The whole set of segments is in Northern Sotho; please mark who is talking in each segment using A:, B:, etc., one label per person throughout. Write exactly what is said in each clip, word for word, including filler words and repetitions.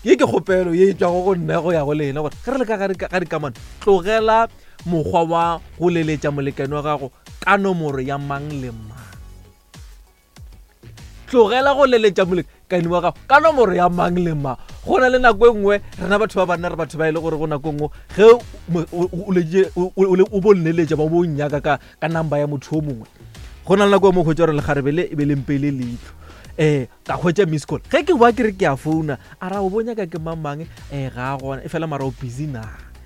A: Ye ke kgopelo ye e tšwago go nna go ya go lena, gore ge re le ka gare ga dikamano, tlogela mokgwa wa go leletša molekane wa gago ka nomoro ya mang le mang. Tlogela go leletša molekane wa gago ka nomoro ya mang le mang. Go na le nako e nngwe rena batho ba banna re batho ba e le gore go nako e nngwe ge o bo nneletša ba bo nyaka ka ka number ya motho o mongwe, go na le nako e mongwe hwetša gore lekgarebe le e be le mpeile leitlho, um ka hwetša miss call. Ge ke boa ke re ke a founa, a ra o bo nyaka ke mang mang, um ga a gona, e fela mara o busy na?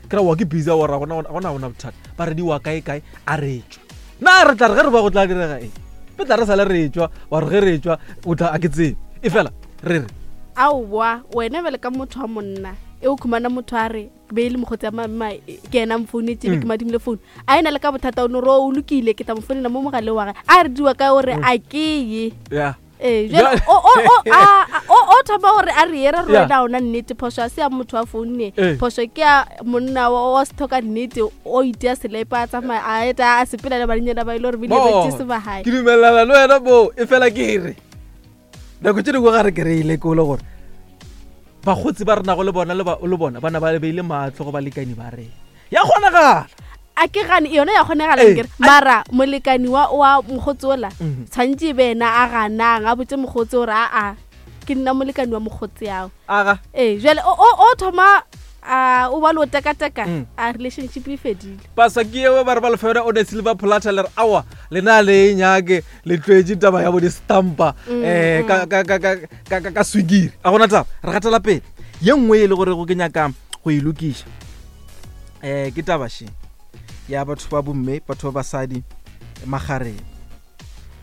A: Ke ra wa ke busy, ora gona gona gona bothata. Ba re di wa kae kae, a re tšwa na re tla re ge re ba go tla direga eng? Re tla re sale re tšwa, wa re ge re tšwa o tla a ke tsebe, e fela re re
B: aowa wena bjale ka motho wa monna e o khumana motho a re be e le mokgotsi ya mama ke ena mfounetse be ke madimile founu, a ena le ka bothata o no re o lokile ke tla mo founela mo mogaleng wa gage, a re diwa ka gore a ke ye.
A: Yeah.
B: Ee, jwale o o o a o o thoma gore a re ere re wena ona nnete phoso a se ya motho wa founne, phoso ke ya monna wa wa sethoka nnete o itea selepe a tsamaya a eta a sepela le banenyana ba ile gore bile ba tse ba hae.
A: Ke dumelana le wena bo, e fela ke re nako tše dingwe ga re kry-ile ke ole gore bakgotsi ba renago le bona le bona ba na ba beile matlho go balekani ba rena, ya kgonagala.
B: A ke gane yona ya kgonagala kere, mara molekani wa wa mokgotsi ola tshwantse e be ena a ganang a botse mokgotsi gore aa ke nna molekani wa mokgotsi ao.
A: Aga
B: ee, jwale o o thoma a o ba le o tekateka, a relationship e fedile.
A: Pasa ke eo ba re ba lefela o ne silver platter le re awa lena le nyake le tlwetse taba ya bo di stampa eh ka ka ka ka ka ka swigiri. A gona taba re gatela pele. Ye nngwe e le gore go ke nyaka go e lokiša eh ke taba she ya batho ba bomme, batho ba basadi magareng.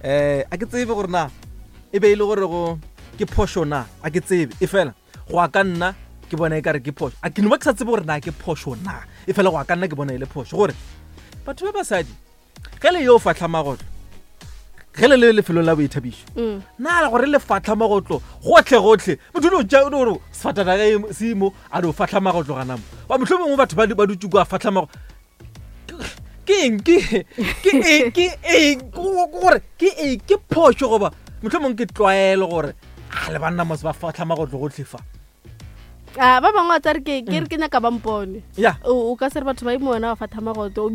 A: Eh a ke tsebe gore na e be e le gore go ke phošo na, a ke tsebe, e fela go a ka nna ke bona e kare ke phošo. A ke no ba ke sa tsebe gore na ke phošo na, e fela go a ka nna ke bona e le phošo gore batho ba basadi ge le yo fahla magotlo, ge le le lefelong la boithabišo, na gore le fahla magotlo gotlhe gotlhe, motho o tša o gore sefatana ge se mo a do fahla magotlo gana mo, ba mohlomongwe batho ba ba dutše kwa fahla magotlo. Ke eng ke ke eng ke eng gore ke eng ke phošo goba mohlomongwe ke tlwaelo gore a le banna mos ba fahla magotlo gotlhe fa?
B: A ba bangwe ba tsare ke ke re ke nyaka ba mpone.
A: Ya.
B: O ka se re batho ba imona ba fatha magotlo,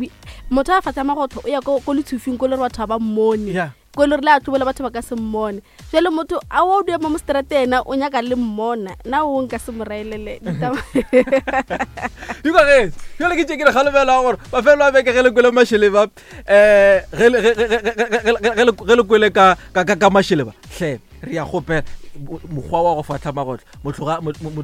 B: motho a fatha magotlo o ya ko ko letshufing ko le re batho ba mmone.
A: Ya.
B: Ko le re le a tlobela batho ba ka se mmone. Jwale motho a o dua mo stratena o nyaka le mmona, na o nka se mo raelele ditaba.
A: Di kwa ge, jwale ke tše ke re kgalobela gore mafelo a beke ge le kwele mašeleba, eh ge le ge le kwele ka ka ka mašeleba, hle re ya kgopela mokgwa wa go fahla magotlo, motho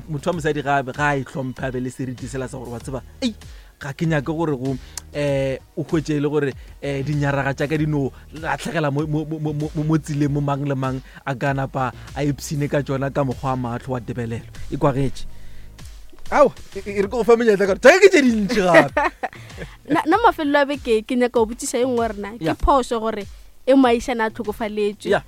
A: motho wa mosadi ga ga e hlomphe a be le seriti sela sa gore wa tseba ei ga ke nyake gore go eh o hwetše le gore eh dinyaraga tša ka di no latlhegela mo mo tseleng mo mang le mang a ka napa a ipshine ka tšona ka mokgwa wa matlho wa tebelelo e kwagetše. Ao e re ke go fa menyetla ka gore ke tše dintši gape.
B: Nna mafelelo a beke ke nyaka go botšiša e nngwe rena ke phošo gore e moahišane a tlhokofaletšwe,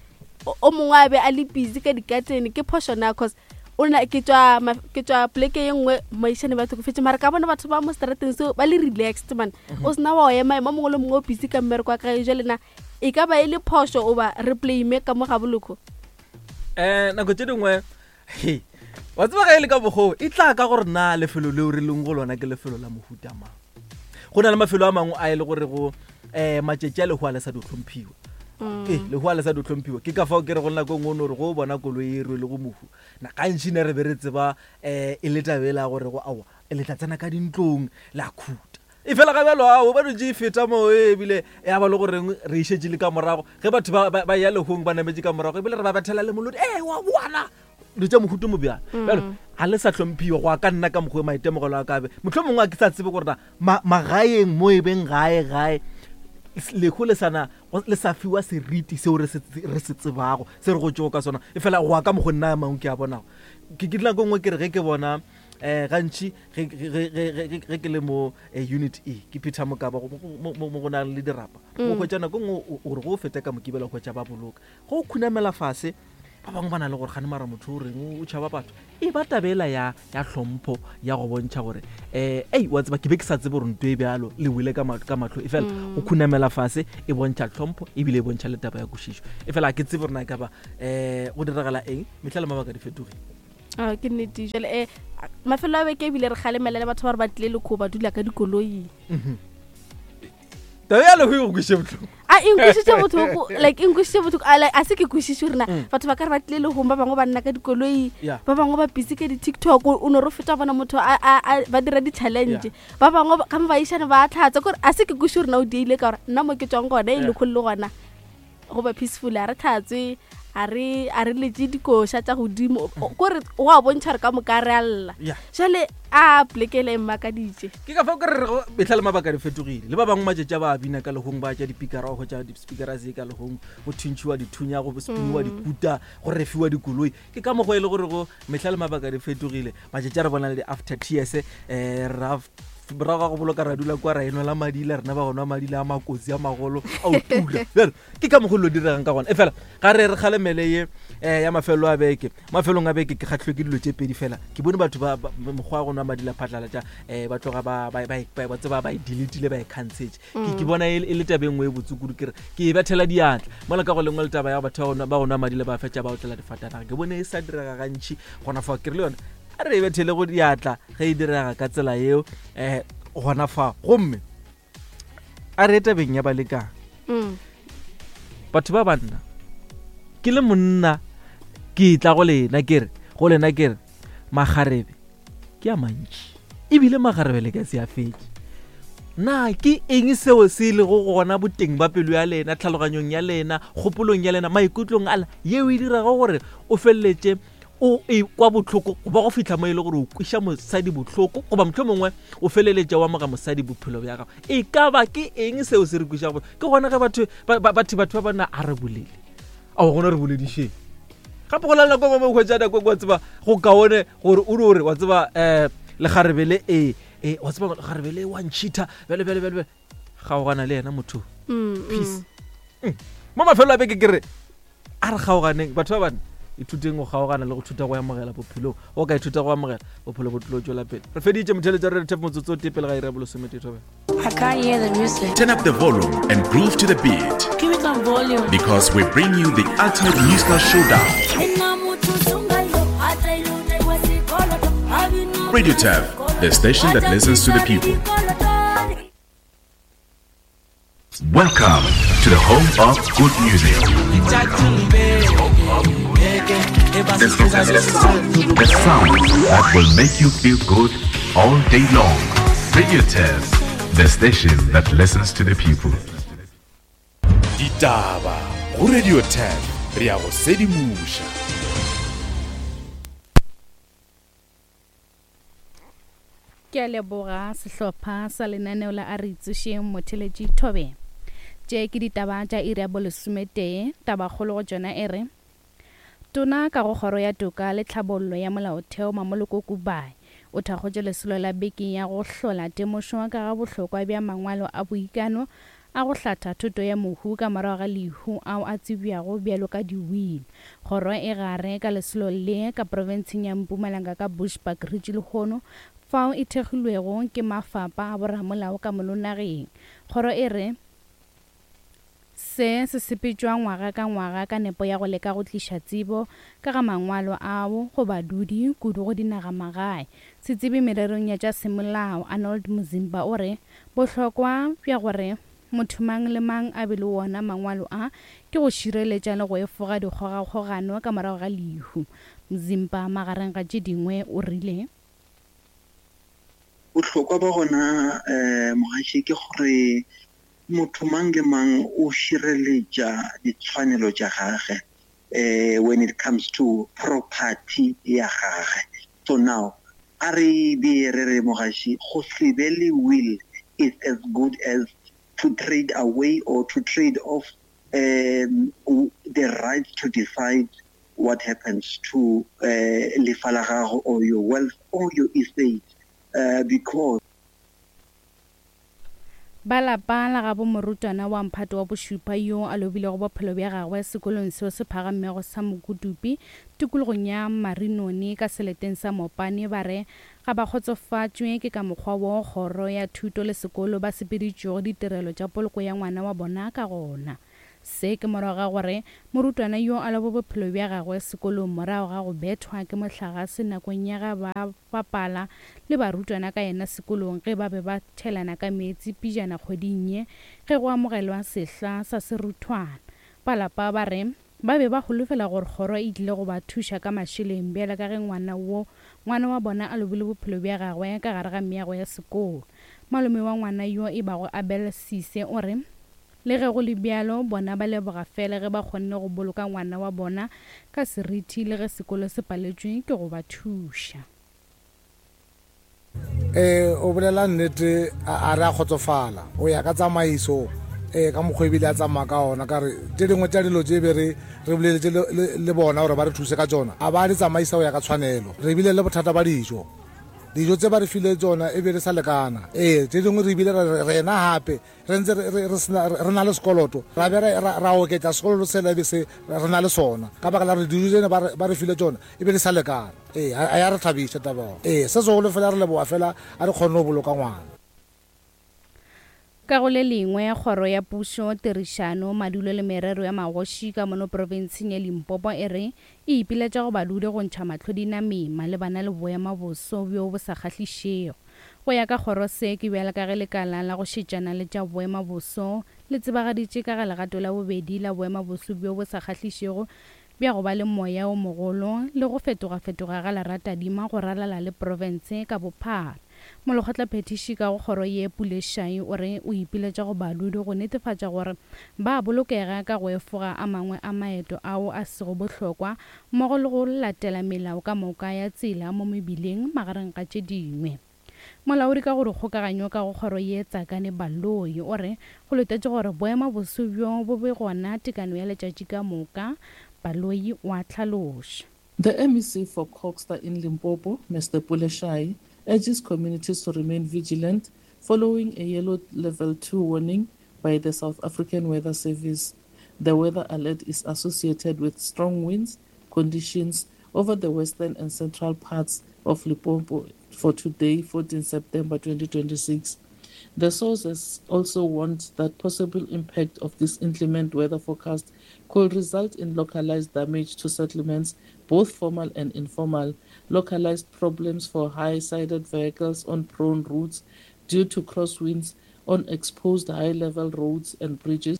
B: o mongwe a be a le busy ka dikatene, ke phošo na? Cause o na ke tswa ke tswa pleke ye nngwe moahišane ba tlhokofetse, mara ka bona batho ba mo strateng seo ba le relaxed man, o sena wa ema ema mongwe le mongwe o busy ka mmereko wa gage. Jwale na e ka ba e le phošo oba re blame ka mo ga boloko?
A: Eh nako tše dingwe he wa tseba ge e le ka bokgoo e tla ka gore na lefelo leo re leng go lona ke lefelo la mohuta mang. Go na le mafelo a mangwe a e le gore go eh matšatši a lehu a le sa di hlomphiwa. Ee, lehu a le sa di hlomphiwa. Ke ka fao ke re go nako e nngwe o no re go bona koloi e rwele go mohu, na gantši ne re be re tseba um e le taba e la gore go aowa le tla tsena ka dintlong la khuta, e fela ga bjalo ao ba dutše e feta mo ebile ya ba le goreng re išetše le ka morago ge batho ba ya lehong ba nametše ka morago ebile re ba bethela le molodi ee wa bona dilo tša mohuto mo bjalo. Bjalo ga le sa hlomphiwa go a ka nna ka mokgwa maitemogelo a kabe mohlomongwe a ke sa tsebe gore na magaeng mo e beng gae gae lehu le sana le sa fiwa seriti seo re se tsebago se re go tšego ka sona, e fela go a ka mokgwa nna a mangwe ke a bonago. Ke ke nako nngwe ke re ge ke bona eh gantši ge ke le mo unit E ke Peter Mokaba mo go nang le dirapa, o hwetša nako nngwe gore go feta ka mokibela o hwetša ba boloka go khunamela fase, ba bangwe ba na le gore gane mara motho o reng o tšhaba batho, e ba tabela ya ya hlompho ya go bontšha gore eh ei wa tseba ke be ke sa tsebe gore nto e bjalo le wele ka ka matlho, e fela go khunamela fase e bontšha hlompho ebile e bontšha le taba ya kwešišo. E fela ke tsebe gore na e ka ba eh go diragala eng, mehla le mabaka di fetogile.
B: Ah, ke nnete jale um mafelo a beke ebile re kgalemela le batho ba re ba tlile lekgo ba dula ka dikoloi.
A: Taba ya leho e go kweše bohloko.
B: A e nkwisitše bohloko, like e nkwisitše bohloko, a like a se ke kwešiše gore na batho ba ka re ba tlile lehong, ba bangwe ba nna ka dikoloi, ba bangwe ba busy ka di-TikTok, o no re feta bona motho a, a, a, ba dira di-challenge, ba bangwe ka mo baišane ba tlhatsa, kore a se ke kwešiše gore na o dieile ka gore nna mo ke tswang gona e lekgolo le gona go ba peaceful, a re tlhatswe, a re a re letse dikoša tša godimo, kore go a bontšha re ka moka re a lla. Jale a plekele e mmakaditše.
A: Ke ka fao ke re rego mehla le mabaka di fetogile, le ba bangwe matšatši a ba bina ka lehong, ba tša dipikara, go tša di-speakera se ka lehong, go thuntšhiwa dithunya, go spiniwa dikuta, go refiwa dikoloi. Ke ka mokgwa e le gore go mehla le mabaka di fetogile, matšatši a re bona le di-after tears, um ra morago ga go boloka ra dula kwa ra enwela madila, rena ba go nwa madila a makotsi a magolo a o tula. Bjale ke ka mokgwa lo diregang ka gona. E fela ga re re kgalemele ye um ya mafelo a beke, mafelong a beke ke kgahlilwe ke dilo tše pedi fela. Ke bone batho ba mokgwa wa go nwa madila phatlalatša um ba tloga ba ba tseba ba e deletile, ba e canceletse. Ke ke bona e le taba e nngwe e botse kudu, ke re ke e bethela diatla mola ka go lengwe le taba ya batho ba go nwa madila ba fetša ba otlela difatanaga. Ke bone e sa direga gantši gona fa, ke re le yona a re e bethele go diatla ge e direga ka tsela yeo um gona fa. Gomme a re tabeng ya balekane, batho ba banna, ke le monna ke tla go lena ke re go lena ke re magarebe ke a mantši, ebile magarebe le ka se a fetše. Na ke eng seo se lego gona boteng ba pelo ya lena, tlhaloganyong ya lena, kgopolong ya lena, maikutlong a lena, yeo e dirago gore o feleletše o e kwa bohloko goba go fihla mo e le gore o kweša mosadi bohloko, goba mohlomongwe o feleletša wa moga mosadi bophelo bja gago? E ka ba ke eng seo se re kwešago? Ke gona ge batho batho batho ba banna a re bolele, ao gona re boledišeng gape go lala nako mo hwetša nako wa tseba go kaone gore o re wa tseba um lekgarebe le e e wa tseba lekgarebe le wa ntšhitha bjale bjale bjale kgaogana le yena motho. Peace. Mo mafelo a beke ke re a re kgaoganeng batho ba banna, ithuteng go kgaogana le go thuta go amogela bophelong. O ka ithuta go amogela bophelo bo tlo tšwela pele. Re feditše motheletša re re motsotso o tee pele ga iri ya bolesomete thobela.
C: I can't hear the music.
D: Turn up the volume and groove to the beat.
C: Give me some volume.
D: Because we bring you the ultimate musical showdown. Radio Turf, the station that listens to the people. Welcome to the home of good music. The sound that will make you feel good all day long. Radio Turf, the station that listens to the people.
E: Ditaba go Radio Turf, re ya go sedimoša.
F: Ke a leboga sehlopha sa lenaneo la a re itsošeng motheletši Thobe. Tše ke ditaba tša iri ya bolesometee, tabakgolo go tšona e re Tona ka go kgoro ya toka le tlhabollo ya molaotheo Mamoloko Kubayi o thakgotše lesolo la beke ya go hlola temošo ka ga bohlokwa bja mangwalo a boikano a go hlatha thuto ya mohu ka morago ga lehu ao a tsebjago bjalo ka di-will. Kgoro e gare ka lesolo le ka profenseng ya Mpumalanga ka Bushbuckridge lehono fao e thekgilwego ke mafapa a boramolao ka mono nageng. Kgoro e re se se sepetšwa ngwaga ka ngwaga ka nepo ya go leka go tliša tsebo ka ga mangwalo ao go badudi kudu go dinagamagae. Setsebi mererong ya tša semolao Arnold Muzimba o re bohlokwa bja gore motho mang le mang a be le wona mangwalo a ke go šireletša le go efoga dikgogakgogano ka morago ga lehu. Muzimba magareng ga tše dingwe o rile
G: bohlokwa ba gona um mogaši ke gore motho mang le mang o šireletša ditshwanelo tša gage eh when it comes to property ya gage. So now a re be re re mogaši go se be le will is as good as to trade away or to trade off um, the right to decide what happens to uh, lefa la gago or your wealth or your estate uh, because
F: ba lapa la gabo morutwana wa mphato wa bošupa yo a lobilego bophelo bja gagwe sekolong seo se phagamego sa Mokutupi tikologong ya Marinone ka seleteng sa Mopane ba re ga ba kgotsofatšwe ke ka mokgwa wo kgoro ya thuto le sekolo ba sepeditšego ditirelo tša poloko ya ngwana wa bona ka gona. Se ke morago ga gore morutwana yo a lobe bophelo bja gagwe sekolong morago ga go bethwa ke mohlagase nakong ya ga ba bapala le barutwana ka yena sekolong ge ba be ba tšhelana ka meetse pejana kgweding ye ge go amogelwa sehla sa seruthwana. Ba lapa ba re ba be ba holofela gore kgoro e tlile go ba thuša ka mašeleng bjale ka ge ngwana wo ngwana wa bona a lobile bophelo bja gagwe ka gare ga meago ya sekolo. Malome wa ngwana yo e bago Abel Sise o re le ge go le bjalo bona ba leboga fela ge ba kgonne go boloka ngwana wa bona ka seriti le ge sekolo se paletšwe ke go ba thuša.
H: Eh o bolela nnete a re a kgotsofala o ya ka tsamaiso eh ka mokgwa ebile a tsamaya ka ona ka re tše dingwe tša dilo tše be re re boleletše le bona gore ba re thuse ka tsona a ba di tsamaisa go ya ka tshwanelo. Re bile le bothata ba dijo, dijo tse ba re file tsona e be re sa lekana. Ee tše dingwe re bile rena gape re ntse re na le sekoloto ra be ra oketša sekoloto sela e be se re na le sona ka baka la gore dijo tsene ba re file tsona e be di sa lekana. Ee a ya re thabiša taba. Ee se segolo fela re leboga fela a re kgonne go boloka ngwana.
F: Ka go le lengwe kgoro ya pušo tirišano madulo le merero ya magoši ka mono profenseng ya Limpopo e re e ipiletša go badudi go ntšha mahlo dinameng malebana le boemaboso bjo bo sa kgahlišego. Go ya ka kgoro se ke bjale ka ge lekala la go šetšana le tša boemaboso le tsebagaditše ka ga legato la bobedi la boemaboso bjo bo sa kgahlišego bja go ba le moya o mogolo le go fetogafetoga ga leratadima go ralala le profense ka bophara. Molekgotlaphethiši ka go kgoro ye Pule Shai o re o ipiletša go badudi go netefatša gore ba bolokega ka go efoga a mangwe a maeto ao a sego bohlokwa mmogo le go latela melao ka moka ya tsela mo mebileng magareng ga tše dingwe. Molaodi ka go dikgokaganyo ka go kgoro ye Tsakane Baloyi o re go letetše gore boemaboso bjo bo be gona tekano ya letšatši ka moka. Baloyi wa tlhaloša.
I: The M E C for Kokstad in Limpopo, Mister Pule Shai, urges communities to remain vigilant following a yellow level two warning by the South African Weather Service. The weather alert is associated with strong winds conditions over the western and central parts of Limpopo for today, fourteenth September twenty twenty-six. The sources also warned that possible impact of this inclement weather forecast could result in localized damage to settlements, both formal and informal, localized problems for high-sided vehicles on prone routes due to crosswinds on exposed high-level roads and bridges.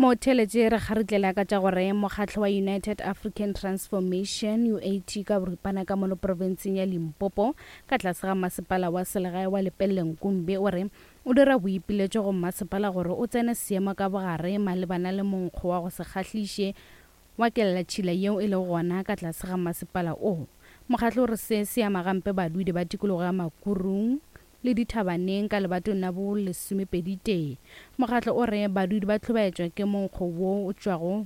F: Motheletše re kgaritlela ka tša gore mokgatlo wa United African Transformation U A T ka boripana ka mono profenseng ya Limpopo ka tlase ga masepala wa selegae wa Lepelle Nkumbi o re o dira boipiletšo go masepala gore o tsene seemo ka bogare malebana le monkgo wa go se kgahliše wa kelatšhila yeo e lego gona ka tlase ga masepala o. Mokgatlo o re se se ama gampe badudi ba tikologo ya Makurung le dithabaneng ka lebatong la bo lesomepedi tee. Mokgatlo o re badudi ba hlobaetšwa ke monkgo wo o tšwago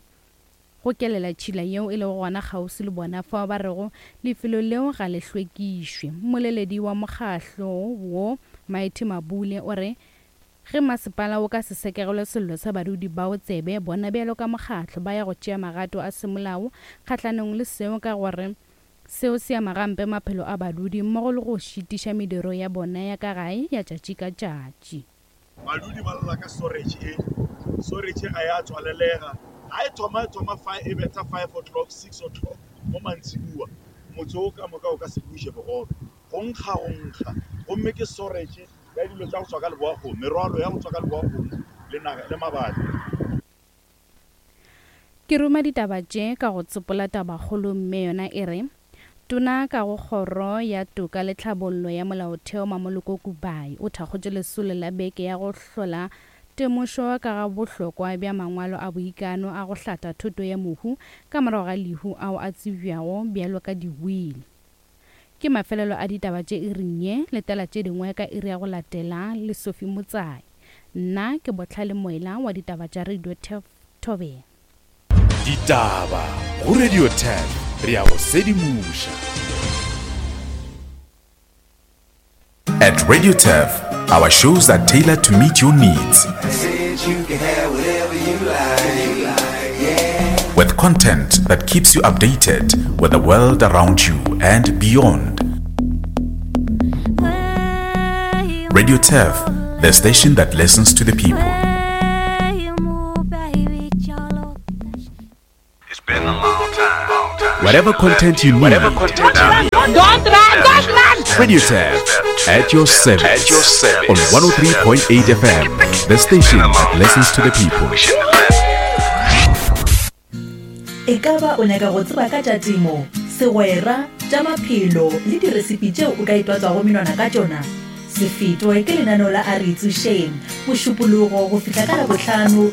F: go kelela tšhila yeo e lego gona kgauswi le bona fao ba rego lefelo leo ga le hlwekišwe. Mmoleledi wa mokgatlo wo Mighty Mabule o re ge masepala o ka se sekegelwe sello sa badudi bao tsebe bona bjalo ka mokgatlo ba ya go tšea magato a semolao kgahlanong le seo ka gore seo se ama gampe maphelo a badudi mmogo le go šitiša mediro ya bona ya ka gae ya tšatši ka tšatši.
J: Badudi ba lla ka storage e storage ga ya tswalelega ga e thoma e thoma e betha five o'clock six o'clock mo mantsiboa motse o ka moka o ka se buše bogobe go nkga go nkga gomme ke storage ya dilo tša go tswa ka leboakgomo merwalo ya go tswa ka leboakgomo le naga le mabapi.
F: Ke ruma ditaba tše ka go tsopola tabakgolo mme yona e re tona ka go kgoro ya toka le tlhabollo ya molaotheo Mamoloko Kubai o thakgotše lesolo la beke ya go hlola temošo ka ga bohlokwa bja mangwalo a boikano a go hlatha thoto ya mohu ka morago ga lehu ao a tsebjago bjalo ka diwili. Ke mafelelo a ditaba tše iring ye letela tše dingwe ka iri ya go latela le Sophie Motsai. Nna ke Botlhale Moela wa ditaba tša Radio Thobela.
E: Ditaba go Radio ten re ya go sedimoša.
D: At Radio Turf, our shows are tailored to meet your needs. With content that keeps you updated with the world around you and beyond. Radio Turf, the station that listens to the people. Whatever content you need.
K: Don't run, don't run!
D: Radio Tab at your service.
K: At your service.
D: On one oh three point eight F M, the station that listens to the people.
L: E ka ba o nyaka go tseba ka tša temo, segwera, tša maphelo le diresipi tšeo o ka itwatswago menwana ka tšona? Se fetwe ke lenaneo la A Re Itsošeng, Mošupologo go fihla ka Labohlano.